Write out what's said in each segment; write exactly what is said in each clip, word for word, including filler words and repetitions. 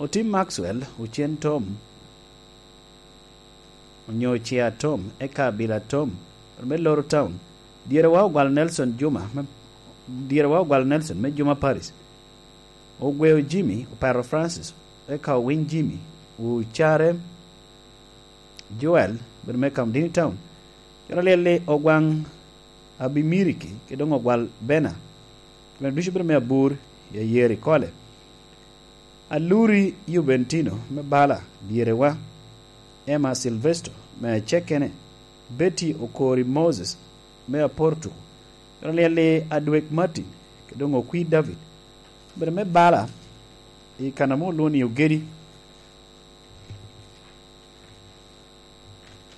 Otim Maxwell, Ocen Tom, onyo Cia Tom, eka Abila Tom, me Loro Town. Dyerewa Ogwal Nelson Juma, me, Dyerewa Ogwal Nelson me Juma Paris. Ogweo Jimmy, Opero Francis, eka Owiny Jimmy, Ocare Joel, bedo me Kamdini Town. Coro Lyelli Ogwaŋ Abimiriki, kede doŋ Ogwal Bena. Gin ducu bedo me Abur, i Ayeri Kole. Aluri Juventino me Bala, Dyerewa, Emma Silvesto me Acekene, Betty Okori Moses me Aportuku, Raliel i Adwek Martin, kede doŋ Okwi David, obedo me Bala i kan ame olwoŋo ni Ogedi.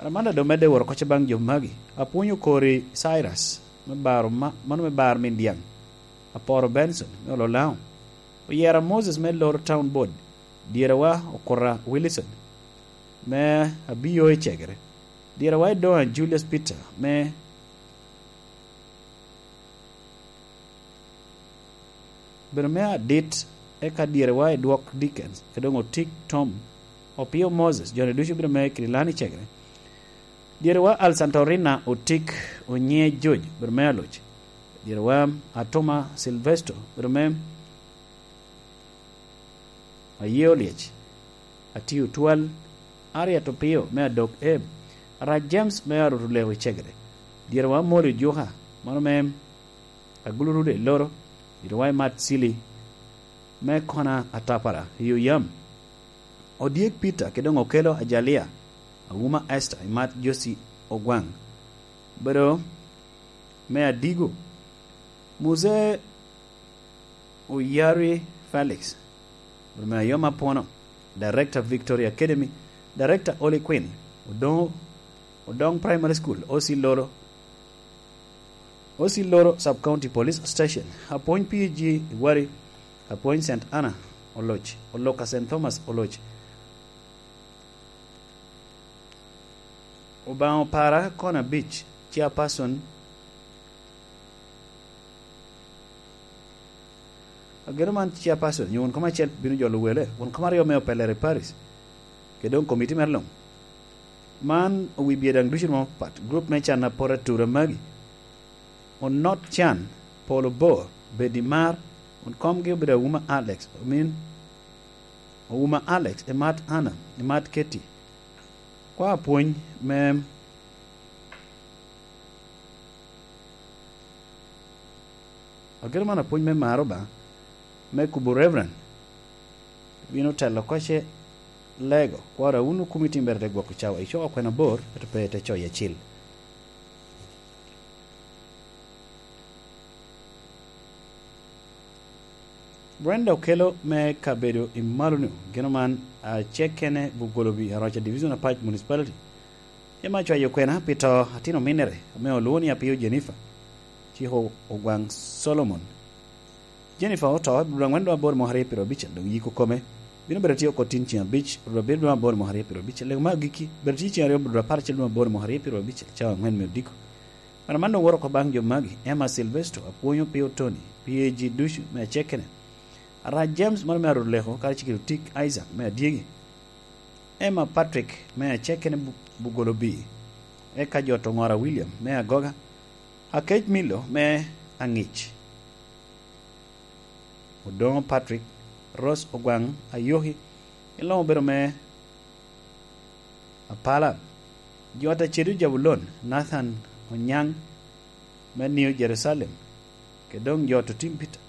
Amanda doŋ medde woro kocce baŋ jo magi. Apwony Okori Cyrus, me baro ma-, mano me baro min Dyaŋ. Aporo Benson, me Ololaŋo. Oyera Moses me Loro Town Board. Dyerewa Okura Wilson, me Abiyo i Cegere. Dyerewa Edoŋa Julius Peter, me bedo me adit, eka dyerewa Edwok Dickens, kede doŋ Otik Tom, Opio Moses, joni ducu bedo me Kirilani Cegere. Dyerewa Alsantorina Otik, Onye George, bedo me Aloc. Dyerewa Atoma Silvesto, bedo me Aye Olyec, Atio Twal, Harriet Opio me Adok Eb, Arac James me Arot Oleko i Cegere. Dyerewa Amoli Ojuka, mano me Agulu Rude i Loro, dyerewa Imat Cili, me Kona Atapara i Oyam. Odyek Peter kede doŋ Okelo Ajalia, Awuma Esther, Imat Josie Ogwaŋ, bedo me Adigo. Muse Oyari Felix, bedo me Ayoma Pono, Director Victoria Academy, Director Holy Queen, Odoŋo, Odoŋ Primary School, O C Loro, O C Loro Sub-County Police Station, Apwony P G Iwari, Apwony Saint Anna Oloc, Oloka Saint Thomas Oloc, Obaŋa Opara Kona Beach, Chairperson. Ageno man Chairperson, nyo won kom acel bino jolo wele, won kom aryo me opelere Paris, kede doŋ komiti me luŋ. Man owi bye daŋ ducu romo pat, group me can apot atura magi. Onot Can, Polo Bo, Bedi Mar, won komgi obedo Awuma Alex, omin Owuma Alex, Emat Anna, Emat Ketty. Kwa apwony me, ageno man apwony me maro ba, me kubo Reverend, bino telo kocce lego, kwara wun okumi timbere te gwoko cawa, icoko kwena bor, ento pe te coyo acil. Brenda Okello me kabedo i malo-nu, geno man, acek kene Bugolobi, Aroca Division Apac Municipality. Ema cwayo kwena pi to atin ominere, ame olwoŋo ni Apiyo Jennifer, ciko Ogwaŋ Solomon. Jennifer oto i dwe angwen dwe aboro mwaka aryo pyero abicel, dok yiko kome bino bedo tye oko tin ceŋ abic, dwe abiro dwe aboro mwaka aryo pyero abicel. Lego me agikki, bedo tye ceŋ aryo dwe apar acel dwe aboro mwaka aryo pyero abicel, cawa angwen me odiko. Wan man doŋ woro oko baŋ jo magi, Emma Silvesto, Apwonyo Pio Tony, P A G ducu me acekene. Arac James, mano me Arot Leko, kadi Cikito Tik Isaac me adyegi. Emma Patrick me acekene Bu-, Bugolobi, eka jo Toŋora William me Agoga, Akec Milo me Aŋic, Odoŋo Patrick, Rose Ogwaŋ Ayoki, i Loŋo obedo me Apala, jo Atacedo Jabulon, Nathan Onyaŋ me New Jerusalem, kede doŋ jo Ototim Peter.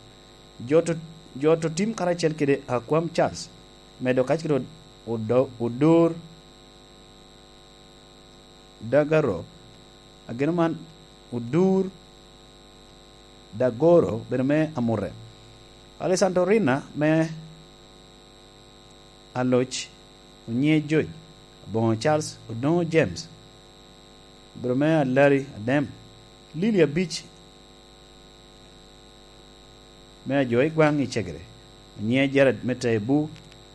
Jo to-, jo Ototim karacel kede Akwam Charles, medo kacel kede Odo-, Odo-, Odur Dagaro, ageno man Odur Dagoro, bedo me Amure. Alessandro Rina me Aloc, Onye Joy, Aboŋo Charles, Odoŋo James, bedo me Alari Adem, Lili Abic, me Ajo i Gwaŋ i Cegere, Onye Jared me Tebu,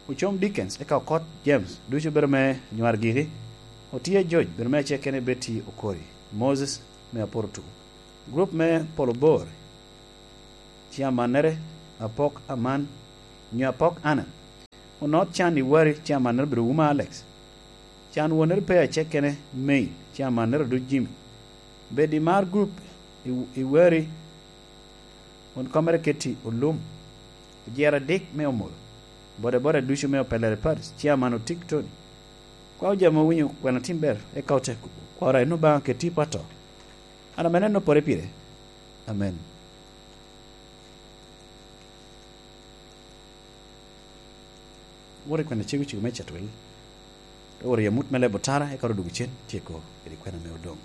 Ocom Dickens, eka Okot James, ducu bedo me Nywar Giki, Otiya George, bedo me Acekene Betty Okori, Moses me Aporotu, gurup me Polo Bor, ci amannere, Apok Aman, nyo Apok Ana, Onot Can i Wari, Chairman Nairobi Ruma Alex. Can Wonere Pe Acekkene, May, Chairman Nairobi Jimmy. Bed i Mar Group i, i Wari, won komere Keti Olum. Ojira adik me Omoro. Bodaboda ducu me Opelere Paris, Chairman Otik Tony. Kwa ojamo winyo kwena tim ber, eka ote kwara eno baŋa keti pato. An ame neno pore pire. Amen. Wot i kwena cego cego me catwel. Te wot i amut me lebo tara, eka odwogo cen, tyeko, kede kwena me odoŋ.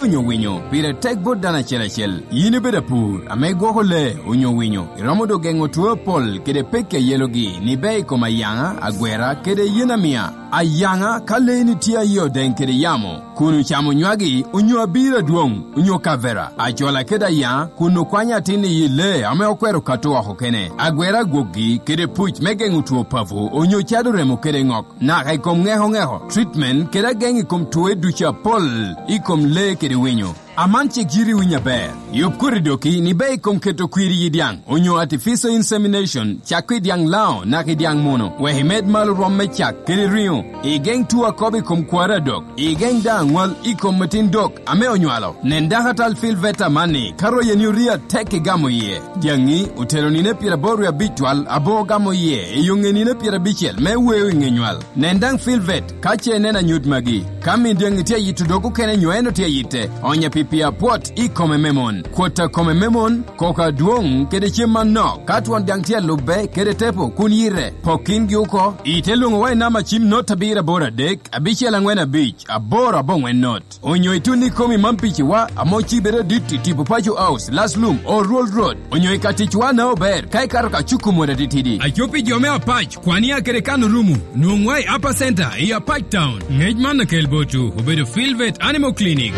Onyo winyo pire tek bot dano acel acel. Yin ibedo apur, ame igwoko lee, onyo winyo, iromo dok geŋo two apol kede pekki a yelogi, ni ber i kom ayaŋa, agwera, kede yen amia. Ayaŋa, ka leeni tye a yie odeŋ kede yamo, kun ocamo nywagi, onyo abiro adwoŋ, onyo kavera, acola kede ayaŋa, kun okwanyo atin i yi lee ame okwero kato oko kene, agwera agwokgi, kede puc me geŋo two papo, onyo cado remo kede ŋok, naka i kom ŋeko ŋeko, treatment, kede ageŋ i kom twoe ducu apol, i kom lee kede winyo. Aman cik yiti winy aber. Yub koti doki ni ber i kom keto kwir i yi dyaŋ, onyo artificial insemination, cak i dyaŋ Lango naka i dyaŋ Muno, wek imed malo rwom me cak kede riŋo. Igeŋ two akobo i kom kwari adok. Igeŋ daŋ aŋwal i kom atin dok ame onywalo. Nen dakatal Phil Veta amanni, ka royeni orii atek igamo iye. Dyaŋi otelo nino pyeraboro wie abic twal, aboŋo gamo iye i yoŋe nino pyerabicel me weo i ŋe nywal. Nen daŋ Phil Vet ka ce ineno anyut magi. Ka min dyaŋi tye ayito dog okene nyo en otye ayitte, onya pi pii apwot i kome me mon. Kwot a kome me mon, koko adwoŋ, kede cem anok, ka twon dyaŋ tye alubbe kede tepo kun yite, pok kingi oko. Ite lwoŋowa i namba cim not abiro aboro adek, abicel aŋwen abic, aboro aboŋwen not. Onyo itun ikomi man piciwa, ame ocibe adit i tipo Paco House, Laslum, Oruol Road. Onyo i ka ticwa na ober, ka ikato ka cuku mot atitidi. Aco pi jo me Apac, Kwania kede kan orumo, nwoŋwa i Upper Center i Apac Town. Ngec man akel botwu, obedo Philvet Animal Clinic.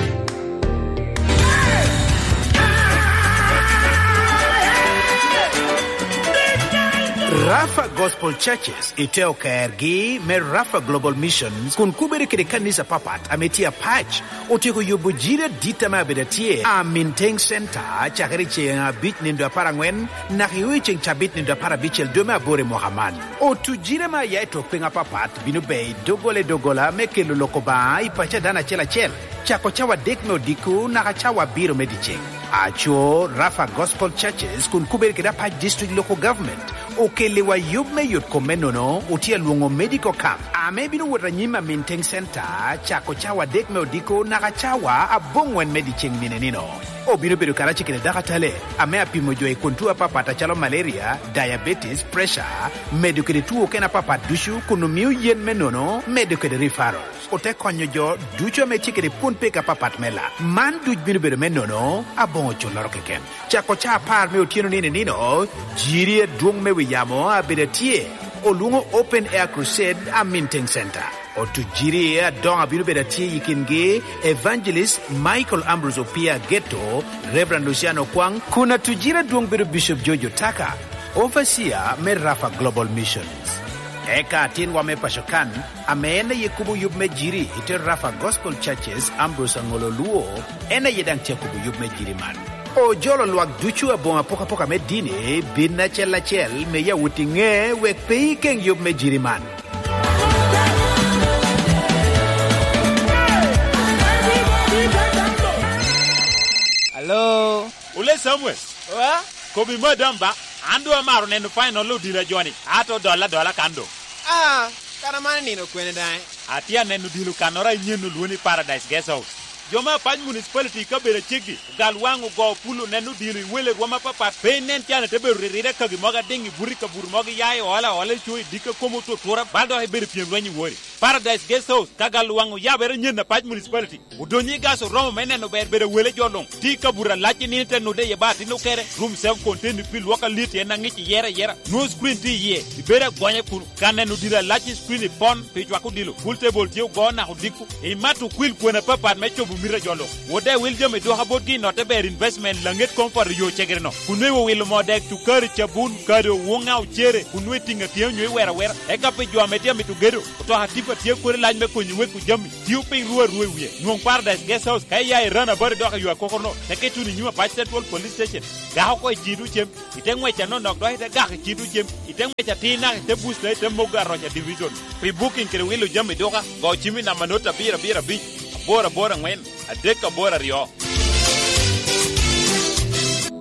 Rafa Gospel Churches i te okergi me Rafa Global Missions kun kubere kede kanisa papat ame tye apac, otyeko yubo jiri adit ame abedo atye, Amintaŋ Center, cakere i ceŋ abic nindo apar aŋwen, naka i ceŋ cabit nindo apar abicel dwe me aboro i mwaka man. Otu jiri ame aya i tok piny apapat bino ber i doggola i doggola me kelo lok Obaŋa i paco a dano acel acel, cako cawa adek me odiko naka cawa abiro me dyeceŋ. Aco, Rafa Gospel Churches kun kubere kede Apac District Local Government okelliwa yub me yot kom me nono, otye alwoŋo medical camp, ame bino wot anyim Amintaŋ Center, cako cawa adek me odiko naka cawa aboŋwen me dyeceŋ nino i nino. Obino bedo karacel kede dakatale ame apimo jo i kun tuo apapat acalo malaria, diabetes, pressure, medo kede tuo okene apapat ducu, kun omio yen me nono, medo kede referral. Ote konyo jo ducu ame tye kede pwon pek apapat me lak. Man duc bino bedo me nono, aboŋo culloro keken. Cako ca apar me otyeno nino i nino, jiri adwoŋ me wi yamo abedo atye, olwoŋo Open Air Crusade, Amintaŋ Center. Otu jiri adoŋo abino bedo atye i kingi, Evangelist Michael Ambrose Opia Ageto, Reverend Luciano Okwaŋ, kun atu jiri adwoŋ bedo Bishop George Otaka, Overseer me Rafa Global Missions. Eka atinwa me paco kan, ame en aye kubo yub me jiri i te Rafa Gospel Churches, Ambrose Aŋolo Luo, en aye daŋ tye akubo yub me jiri man. Ojolo lwak ducu aboŋo apokapoka me dini, bin acel acel, me ya wot i ŋe, wek pe ikeŋ yub me jiri man. Alo? Ole Samuel. Wa? Kobi madam ba, an doŋ amaro neno final odilo joni, ato dolla dolla kan doŋ. Ah, kara man nino kwene daŋ? Atye aneno odilo kannoro anyen olwoŋo ni Paradise Guest House. Jo me Apac Municipality i kabedo aceggi, ogal waŋ ogo pul oneno odilo i wele rwom apapat, pe inen can ite bedo ririre kagi mogo adiŋ i buto i kabuto mogo iya i ola ola i co i dikka komo otutura, bal dok ibedo i pyem lweny i wori. Paradise Guest House, ka gal waŋ oyabere nyen Apac Municipality, odonyo i gas oromo me neno ber bedo wele jo luŋ. Tye i kabuto alac i nino te nude iye ba atin okere, room self contained pi lwok alit en aŋic iyere ayera. Nwoŋo screen tye iye, ibedo agonya kun ka neno odilo alac i screen i pon pi cwako odilo. Pool table tye ogo naka odiko. Imato kwil kwena apapat me cobo Mito jolo. Wot daŋ iwil jami dwoka botgi i Notte Ber Investment, Laŋet Comfort, yo Cegere-no. Kun nwoŋo iwilo moo dek, cukari, cabun, kado, wuŋa, ocere, kun nwoŋo itiŋo atiŋa onyo iwero awera. Eka pi jo ame tye amito gedo, otoka tipa tye kodi lac me konyi weko jami. Tio piny ruu arua i wie. Nwoŋ Paradise Guest House ka iya i Ranabat idok i yo akokoro-no, teke ituno i nyim Apac Central Police Station. Gak oko i Cido Cem, ite ŋwec anonok dok ite gak i Cido Cem, ite ŋwec atir naka ite Busta, ite Mogo Aroca Division. Pi booking kede wilo jami duka, go cim i namba not abiro abiro abic, aboro aboro aŋwen, adek aboro aryo.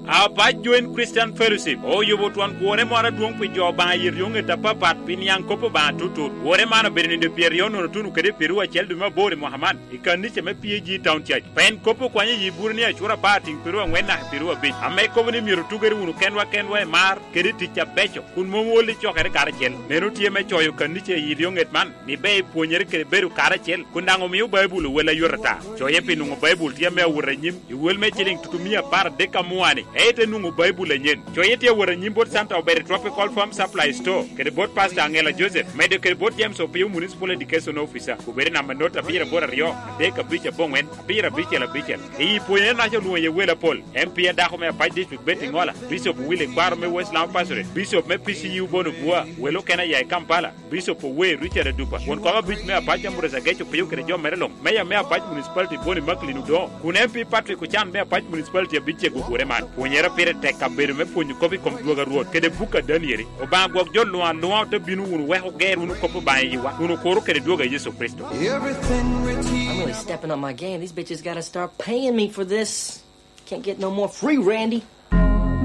Apac Joint Christian Fellowship oyubo twon kworre moro adwoŋ pi jo Obaŋa i ryoŋet apapat pi niaŋ kop Obaŋa tutut. Kworre man obedo nino pyeraryo nono tuno kede pyeraryo acel dwe me aboro i mwaka man i kanica me P A G Town Church. Pien kop okwanyo i Eburania acura apar tiŋ pyeraryo aŋwen naka pyeraryo abic, ame kobo ni myero otugere wunu kenwa kenwa i mar kede i tic abeco, kun mom wol i cokere karacel. Meno tye me coyo kanica i ryoŋet man, ni ber ipwonyere kede bedo karacel, kun daŋ omio Baibul owel ayot ata. Coye pi nwoŋo Baibul tye ame awot anyim i wel me ciliŋ tutumia apar adek amua-ni, ento enwoŋo Baibul anyen. Coye tye awot anyim bot Santa Obere Tropical Farm Supply Store, kede bot Pastor Angela Joseph, medo kede bot James Opio, Municipal Education Officer, obedo i namba not abiro aboro aryo, adek abic aboŋwen, abiro abicel abicel. I pwonyere naca olwoŋo iye wel apol, M P a dako me Apac District Betty Ŋola, Bishop Willy Kwaro me West Lamu Pastorate, Bishop me P C U Bono Bua, wel okene aya i Kampala, Bishop Owe Richard Adupa, won kom abic me Apac Ambrose Ageco Pio kede jo mere luŋ, Meya me Apac Municipality Bonnie Macklin Odongo, kun M P Patrick Ocan me Apac Municipality abic cego ogure man. Pwonyere pire tek kabedo me pwonyo kop i kom dwogo a Rwot kede buk a Danieli. Obaŋa gwok jo luŋ aluŋa, ote bino wunu wek oger wunu kop Obaŋa i yiwa, kun okuro kede dwogo a Yecu Kricito. Everything rich. I'm really stepping up my game. These bitches gotta start paying me for this. Can't get no more free, Randy.